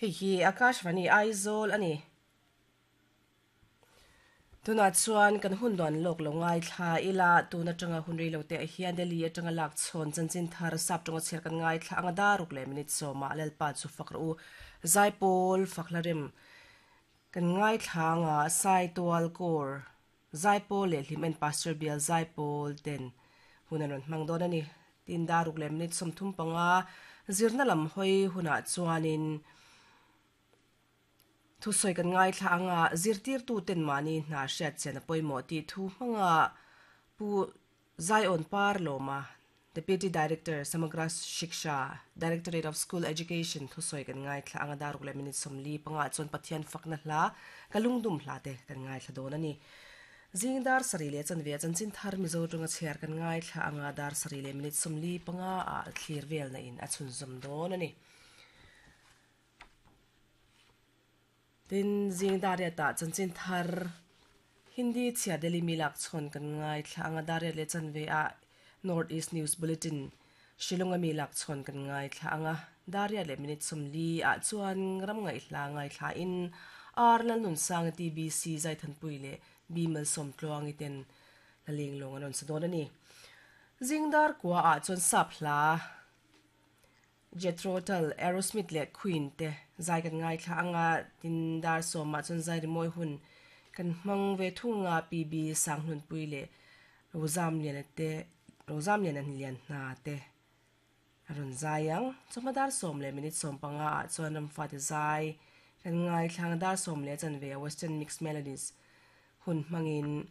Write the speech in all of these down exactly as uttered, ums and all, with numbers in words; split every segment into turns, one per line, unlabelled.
Hei hi Akashvani Aizawl ani. Tunah chuan kan hun duan lawk lo ngaithla ila tun atanga hun rei lo te ah hian Delhi atanga lak chhawn chanchin thar sap tawnga chhiar kan ngaithla anga daruk leh minute sawmah Lalpa chu fak rawh u Zaipawl fakhla rem kan ngaithla anga Saitual Corps Zaipawl leh Hlimen Pastor Bial Zaipawl ten hun an rawn hmang dawn ani. Tin daruk leh minute sawmthum panga zirna lam hawi hunah chuanin thu sawi kan ngaithla anga zirtirtu ten mahni hna hriat chian a pawimawh tih thu hmanga pu Zion Par Lawma Deputy Director Samagra Shiksha Directorate of School Education thu sawi kan ngaithla anga daruk leh minute sawmli panga chuan Pathian fakna hla ka lungdum hla te kan ngaithla dawn ani. Zingdar sarih leh chanve chanchin thar Mizo tawnga chhiar kan ngaithla anga dar sarih leh minute sawmli panga ah thlir vel na in a chhunzawm dawn ani. Tin zingdar riatah chanchin thar Hindi chhiar Delhi mi lak chhawn kan ngaithla anga dar riat leh chanve ah North East News Bulletin Shillong a mi lak chhawn kan ngaithla anga dar riat leh minute sawmli ah chuan ram ngaihla ngaithla in R Lalnunsanga T B C Zaithanpui leh B Malsawmtluangi ten laleng lawng an rawn sa dawn ani. Zingdar kua ah chuan sap hla Jethro Tull, Aerosmith leh Queen te zai kan ngaithla anga tin dar sawmah chuan zai rimawi hun kan hmang ve thunga P B Sanghlunpui leh Rozamliana te Rozamliana lian hna te a rawn zai ang. Chawhma dar sawm leh minute sawm panga ah chuan ramfa te zai kan ngaithla anga dar sawm leh chanve a Western Mixed Melodies hun hmangin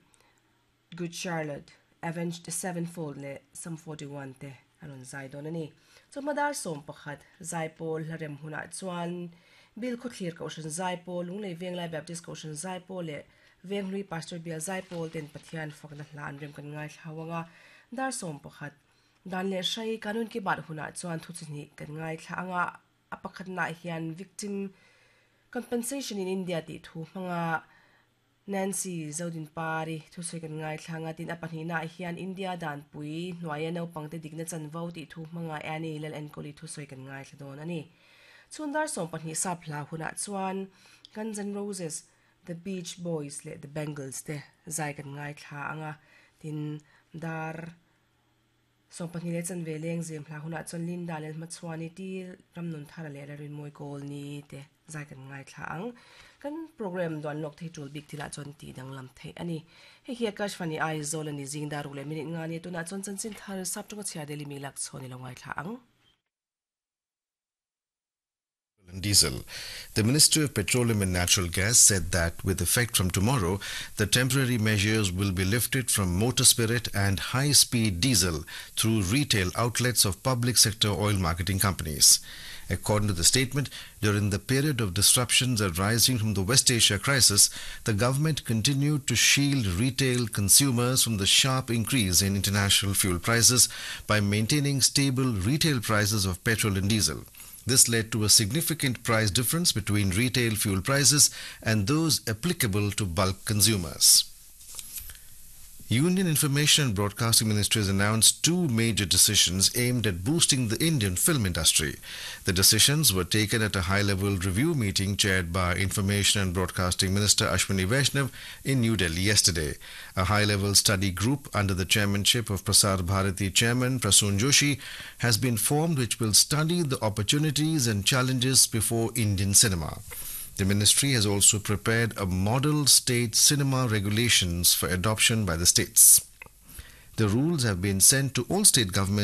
Good Charlotte, Avenged Sevenfold leh Sum forty one te a rawn zai dawn ani. Chawhma dar sawm pakhat Zaipawl hlarem hunah chuan Bill Khawthlir Kohhran Zaipawl, Lunglei Venglai Baptist Kohhran Zaipawl leh Venghlui Pastor Bial Zaipawl ten Pathian fakna hla an rem kan ngaithla anga dar sawm pakhat dan leh hrai kanun ki bat hunah chuan thu chihnih kan ngaithla anga a pakhatnaah hian Victim Compensation in India tih thu hmanga Nancy Zodinpari thu sawi kan ngaithla anga tin a pahnihnaah hian India danpui hnuaia naupangte dikna chanvo tih thu hmanga Annie Lal Enkawli thu sawi kan ngaithla dawn ani. Chhun dar sawm pahnih sap hla hunah chuan Guns N' Roses, The Beach Boys leh The Bangles te zai kan ngaithla anga tin dar sawm pahnih leh chanve leng zem hla hunah chuan Linda leh Hmachhuani ti Ramnun Thara leh Lalrinmawi Kawlni te zai kan ngaithla ang. Kan program duan lawk thei tul bik thilah chuan ti danglam theih ani. Hei hi Akashvani Aizawl ani zingdar ruk leh minute nga ni tunah chuan chanchin thar sap tawnga chhiar Delhi mi lak chhawn i lo ngaithla ang.
And diesel. The Ministry of Petroleum and Natural Gas said that with effect from tomorrow, the temporary measures will be lifted from motor spirit and high-speed diesel through retail outlets of public sector oil marketing companies. According to the statement, during the period of disruptions arising from the West Asia crisis, the government continued to shield retail consumers from the sharp increase in international fuel prices by maintaining stable retail prices of petrol and diesel. This led to a significant price difference between retail fuel prices and those applicable to bulk consumers. Union Information and Broadcasting Ministry has announced two major decisions aimed at boosting the Indian film industry. The decisions were taken at a high-level review meeting chaired by Information and Broadcasting Minister Ashwini Vaishnav in New Delhi yesterday. A high-level study group under the chairmanship of Prasar Bharati Chairman Prasoon Joshi has been formed, which will study the opportunities and challenges before Indian cinema. The ministry has also prepared a model state cinema regulations for adoption by the states. The rules have been sent to all state governments